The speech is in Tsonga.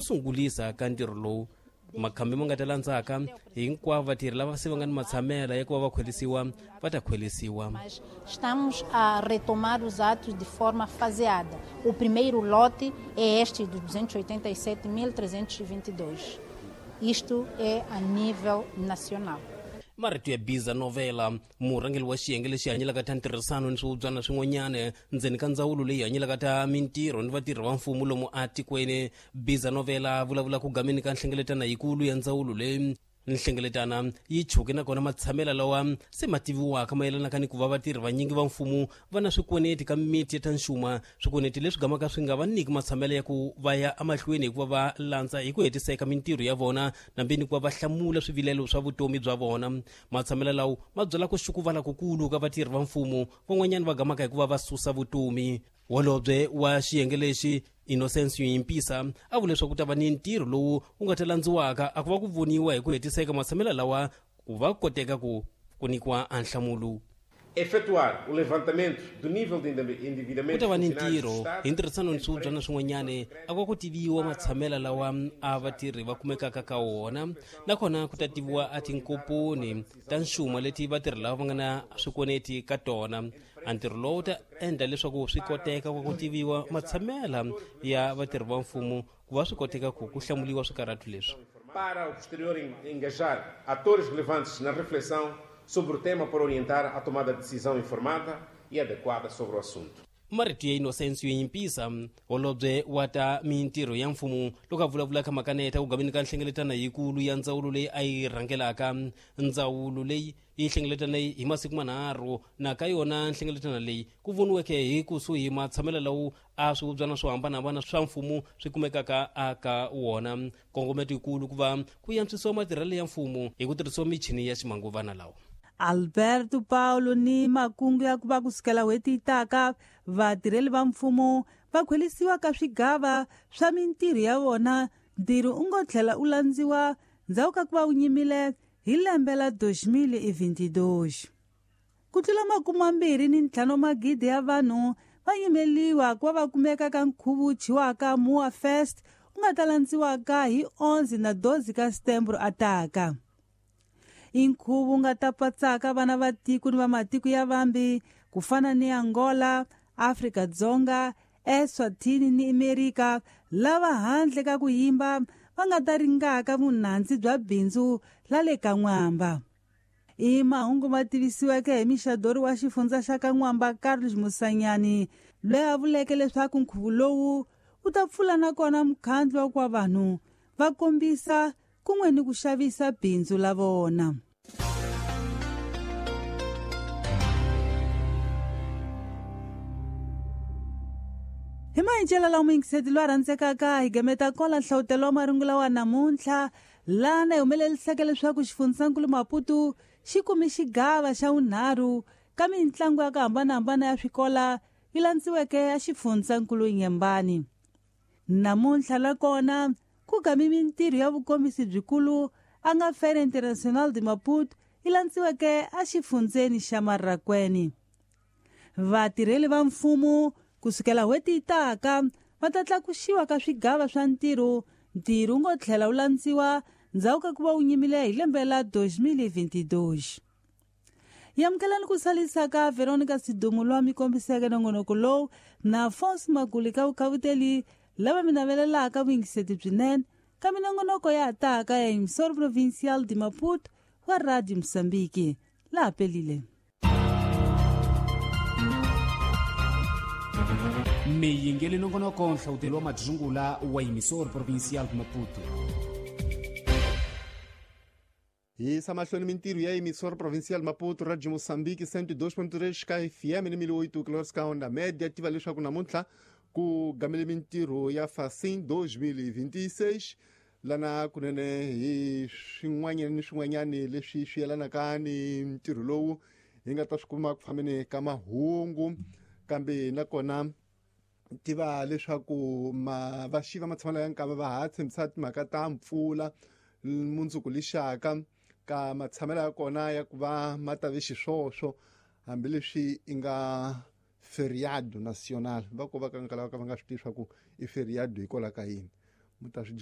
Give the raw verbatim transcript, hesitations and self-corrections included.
Sungulisa ka ntirho lowu makhambi ma nga ta landzaka hinkwavo vatirhi lava se va nga ni matshamela ya ku va va khwelisiwa va ta khwelisiwa. Estamos a retomar os atos de forma faseada. O primeiro lote é este de duzentos e oitenta e sete mil trezentos e vinte e dois. Isto é a nível nacional. Marito ya Biza Novela, murhangeri wa xiyenge lexi hanyelaka ta ntirhisano ni swihubyana swin'wanyana ndzeni ka ndzawulo leyi hanyelaka ta mintirho ni vatirhi va mfumo lomu atikweni. Biza Novela vulavula ku gameni ka nhlengeletano yikulu ya ndzawulo leyi. Nhlengeletano yi chuke nakona matshamela lawa se ma tiviwaka mayelanaka ni ku va vatirhi vanyingi va mfumo va na swikweneti ka miti ya ta nxuma, swikweneti leswi gamaka swi nga va nyiki matshamela ya ku va ya emahlweni hikuva va landza hi ku hetiseka mintirho ya vona nambe ni ku va va hlamula swivilelo swa vutomi bya vona. Matshamela lawo ma byela ku xukuvala kukulu ka vatirhi va mfumo van'wanyana va gamaka hikuva va susa vutomi. Holobye wa xiyenge lexi Innocence Yimpisa a vule leswaku ku ta va ni ntirho lowu wu nga ta landziwaka a ku va ku voniwa hi ku hetiseka matshamela lawa ku va koteka ku ku nyikiwa nhlamulo. Efetuar o levantamento do nível de endividamento. Ku ta va ni ntirho hi ntirhisano ni swihubyana swin'wanyana a ku va ku tiviwa matshamela lawa a vatirhi va kumekaka ka wona, nakona ku ta tiviwa a tinkomponi ta nxuma leti vatirhi lava va nga na swikweneti ka tona. A ntirho lowu ta endla leswaku swi koteka ku ku tiviwa matshamela ya vatirhi va mfumo ku va swi koteka ku ku hlamuliwa swikarhatu leswi. Para o posterior engajar atores relevantes na reflexão sobre o tema para orientar a tomada de decisão informada e adequada sobre o assunto. Marito ya Innocence Yimpisa, holobye wa ta mintirho ya mfumo loko a vulavula ka makaneta ku gameni ka nhlengeletano yikulu ya ndzawulo leyi a yi rhangelaka. Ndzawulo leyi yi hlengeletana hi masiku manharhu na ka yona nhlengeletano leyi ku voniweke hi kusuhi matshamelo lawo a swihubyana swo hambanahambana swa mfumo swi kumekaka aka wona. Nkongometo yikulu ku va ku antswisiwa matirhelo ya mfumo hi ku tirhisiwa michini ya ximanguvana lawa. Alberto Paulo ni makungu ya ku va kusukela n'hweti yi taka vatirheli va mfumo va khwelisiwa ka swigava swa mintirho ya vona. Ntirho u ngo tlhela u landziwa ndzhaku ka ku va wu nyimile hi lembe la dois mil e vinte e dois. Ku tlula makume mambirhi ni ntlhanu magidi ya vanhu va yimeliwa ku va va kumeka ka nkhuvo wu thyiwaka Mua Fest wu nga ta landziwaka hi onze na doze ka Setembro ataka. I nkhuvo wu nga ta patsaka vana va tiko ni va matiko ya vambi ku fana ni Angola, Afrika-Dzonga, Eswatini ni Amerika, lava handle ka ku yimba va nga ta ringaka vunandzi bya bindzu la le ka N'wamba. I mahungu ma tivisiweke hi mixadori wa xifundza xa ka N'wamba Carlos Musanyani, loyi a vuleke leswaku nkhuvo lowu wu ta pfula nakona mukhandlu wa ku vanhu va kombisa kun'we ni ku xavisa bindzu la vona. Hi maendlelo lawa muyingiseti loyi a rhandzekaka hi gameta kola nhlawutelo wa marungula wa namuntlha lana hi humeleliseke leswaku xifundzankulu Maputo xi kume xigava xa vunharhu ka mintlangu ya ku hambanahambana ya swikola yi landziweke ya xifundzankulu Nyembani. Namuntlha la kona ku gami mintirho ya vukombisi byikulu a nga Feira Internacional de Maputo yi landziweke exifundzeni xa Marracuene. Vatirheli va mfumo kusukela n'hweti yi taka va ta tlakusiwa ka swigava swa ntirho. Ntirho wu ngo tlhela wu landziwa ndzhaku ka ku va wu nyimile hi lembe la dois mil e vinte e dois. Hi amukelani ku salisa ka Veronica Sidumo loyi a mi kombiseke nongonoko lowu na Afonso Maguli ka vukhavuteli lava mi navelelaka vuyingiseti byinene ka minongonoko ya taka ya Emissora Provincial de Maputo wa Radio Moçambique. Laha pelile. Miyingeli nongonoko nhlawutelo wa madzungula wa Emissora Provincial de Maputo. Hi yisa mahlweni mintirho ya Emissora Provincial Maputo Radio Moçambique cento e dois ponto três ka F M ni mil oito quilômetros ka onda média. Tiva leswaku namuntlha ku gamele mintirho ya Facim dois mil e vinte e seis lana kunene hi swin'wanyana ni swin'wanyana leswi swi yelanaka ni ntirho lowu hi nga ta swi kuma ku fambeni ka mahungu. Kambe nakona tiva leswaku ma va xiva matshamelo ya nkava va ha tshembisa timhaka ta mpfula mundzuku lixaka ka matshamelo ya kona ya ku va ma ta ve xiswoswo hambileswi i nga feriado nacional va ko va ka nkala va ka va nga swi tivi swa ku i feriado hikwalaho ka yini mu ta swi